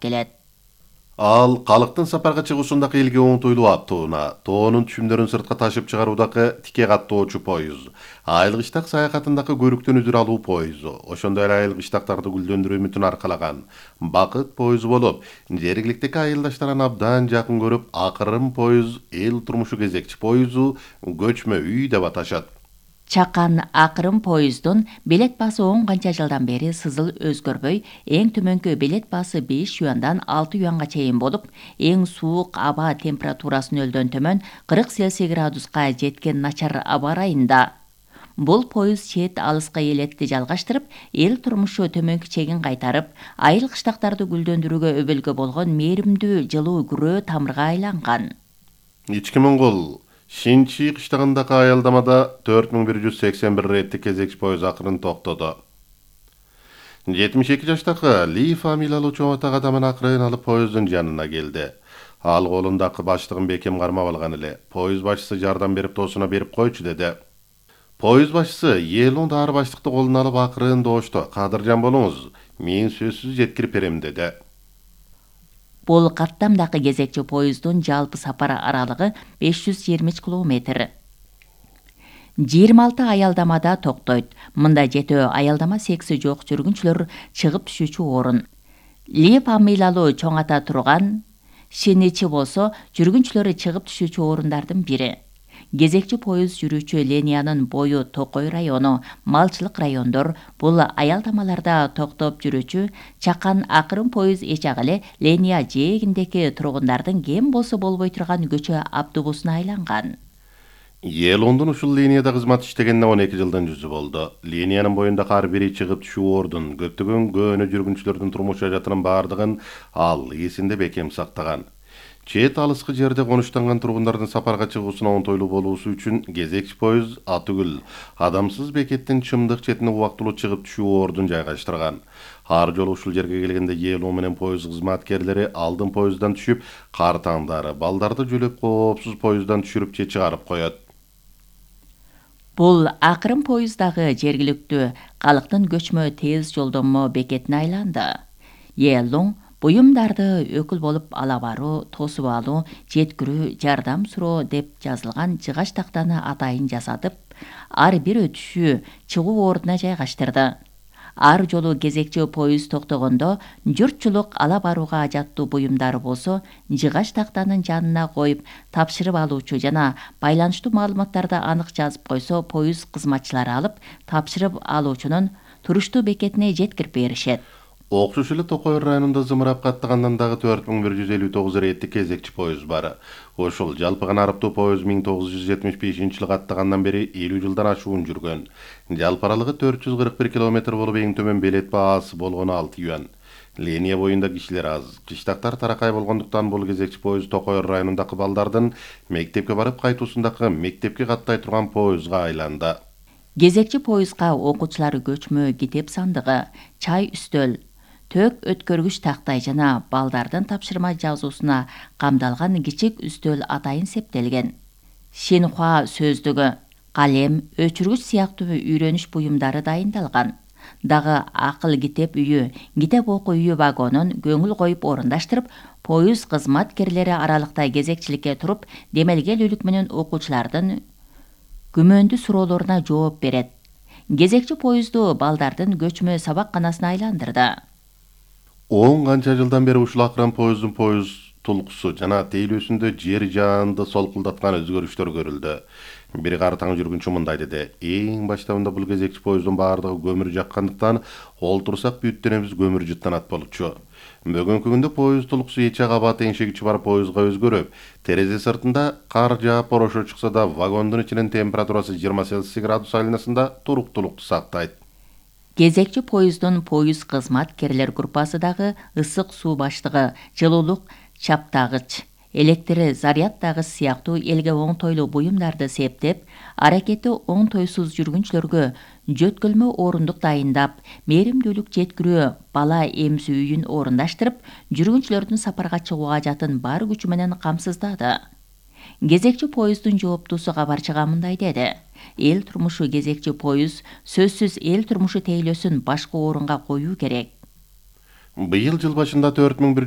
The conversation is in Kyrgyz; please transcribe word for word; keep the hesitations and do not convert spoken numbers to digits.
келет. Ал калктын сапарга чыгуусундагы элге оңтойлуу аттууна, тоонун түшүмдөрүн сыртка ташып чыгаруудагы тике каттоочу поезд, айыл-кыштак саякатындагы көрүктөн үзүр алуу поезду, ошондой эле айыл-кыштактарды гүлдөндүрүү үмүтүн аркалаган бакыт поезду болуп, жергиликтеги айылдаштарын абдан жакын көрүп, акырын поезд, эл турмушу кезекчи поезду, көчмө үй деп аташат. Чакан акырын поезддун билет баасы он канча жылдан бери сызыл өзгөрбөй, эң төмөнкү билет баасы беш юандан алты юанга чейин болуп, эң суук аба температурасын нөлдөн төмөн кырк Цельсий градуска жеткен начар аба ырайында. Бул поезд чет алыска элетти жалгаштырып, эл турмушу төмөнкү чегин кайтарып, айыл-кыштактарды гүлдөндүрүүгө өбөлгө болгон мээримдүү жылуу күрөө тамырга айланган. Ички Моңгол Шинчи кыштагындагы аялдамада төрт миң бир жүз сексен бир реттик кезекчи поезд акырын токтоду. жетимиш эки жаштагы Ли фамилиялуу чоң атак адамын акырын алып поезддун жанына келди. Ал колундагы баштыгын бекем кармап алган эле. Поезд башчысы жардам берип тоосуна берип койчу деди. Поезд башчысы Елун дары баштыкты колуна алып акырын доошту. Кадыржан болуңуз, мен сөзсүз жеткирип берем деди. Бул каттамдагы кезекчи поезддун жалпы сапар аралыгы беш жүз жыйырма үч километр. жыйырма алты аялдамада токтойт. Мында жетөө аялдама секси жок жүргүнчүлөр чыгып түшүүчү орун. Ли фамилиялуу чоң ата турган Шиничи болсо жүргүнчүлөрү чыгып түшүүчү орундардын бири. Кезекчи поезд жүрүүчү линиянын бою Токой району, малчылык райондор, бул аялдамаларда токтоп жүрүүчү Чакан акырын поезд эчак эле линия жээгиндеги тургундардын кем болсо болбой турган көчө автобусуна айланган. Елондун ушул линияда кызмат иштегенине он эки жылдан жүзү болду. Линиянын боюндагы ар бир чыгып түшүү ордун, көптөгөн көөнө жүргүнчүлөрдүн турмуш жаатынын бардыгын ал эсинде бекем сактаган. Чет алыскы жерде конуштанган тургундардын сапарга чыгуусуна оңтойлуу болуусу үчүн кезекчи поезд Атүгүл адамсыз бекеттин чымдык четине убактылуу чыгып түшүү ордун жайгаштырган. Ар жолу ушул жерге келгенде Елон менен поезд кызматкерлери алдын поезддан түшүп, картаңдары, балдарды жөлөп коопсуз поезддан түшүрүп же чыгарып коет. Бул акырын поезддагы жергиликтүү калктын көчмө тез жолдонмо бекетине айланды. Елон буюмдарды өкүл болуп ала баруу, тосуп алуу, жеткирүү, жардам суроо деп жазылган жыгач тактаны атайын жасатып, ар бир өтүшү чыгуу ордуна жайгаштырды. Ар жолу кезекчи поезд токтогондо журтчулук ала барууга ажаттуу буюмдары болсо, жыгач тактанын жанына коюп, тапшырып алуучу жана байланыштуу маалыматтарды анык жазып койсо, поезд кызматчылары алып, тапшырып алуучунун туруштуу бекетине жеткирип беришет. Окшош эле Токой районунда зымырап каттагандан дагы төрт миң бир жүз элүү тогуз реттик кезекчи поезд бар. Ошол жалпы гана арыптуу поезд миң тогуз жүз жетимиш бешинчи жылы каттагандан бери элүү жылдан ашуун жүргөн. Жалпы аралыгы төрт жүз кырк бир километр болуп, эң төмөн билет баасы болгону алты юан. Линия боюнда кишилер аз. Кыштактар таракай болгондуктан бул кезекчи поезд Токой районундагы балдардын мектепке барып кайтуусундагы мектепке каттай турган поездга айланды. Кезекчи поездга окуучулар көчмө китеп сандыгы, чай үстөл, төк өткөргүч тактай жана балдардын тапшырма жазуусуна камдалган кичик үстөл атайын септелген. Шинхуа сөздүгү, калем, өчүргүч сыяктуу үйрөнүш буюмдары дайындалган. Дагы акыл китеп үйү, китеп окуу үйү вагонун көңүл коюп орундаштырып, поезд кызматкерлери аралыкта кезекчиликке туруп, демелгелүүлүк менен окуучулардын күмөндүү суроолоруна жооп берет. Кезекчи поезду балдардын көчмө сабакканасына айландырды. он канча жылдан бери ушул акырын поезддун поезд тулкусу жана тейлөөсүндө жер жаанды солкулдаткан өзгөрүштөр көрүлдү. Бир картаң жүргүнчү мындай деди: эң баштабында бул кезекчи поезддун баардыгы көмүр жаккандыктан олтурсак бүттенебиз көмүр жыттанат болчу. Бүгүнкү күндө поезд тулкусу эчак аба теңшегичи бар поездга өзгөрүп, терезе сыртында кар жаап борошо чыкса да вагондун ичинин температурасы жыйырма Цельсий градус айланасында туруктуулукту сактайт. Кезекчи поезддун поезд кызматкерлер группасы дагы ысык суу баштыгы, жылуулук чаптагыч, электр зарядтагыч сыяктуу элге оңтойлуу буюмдарды септеп, аракети оңтойсуз жүргүнчүлөргө жөткөлмө орундук дайындап, мээримдүүлүк жеткирүү бала эмсүү үйүн орундаштырып, жүргүнчүлөрдүн сапарга чыгууга жатын бар күчү менен камсыздады. Кезекчи поезддун жооптуусу кабарчыга мындай деди: эл турмушу кезекчи поезд сөзсүз эл турмушу тейлөөсүн башкы орунга коюу керек. Быйыл жыл башында төрт миң бир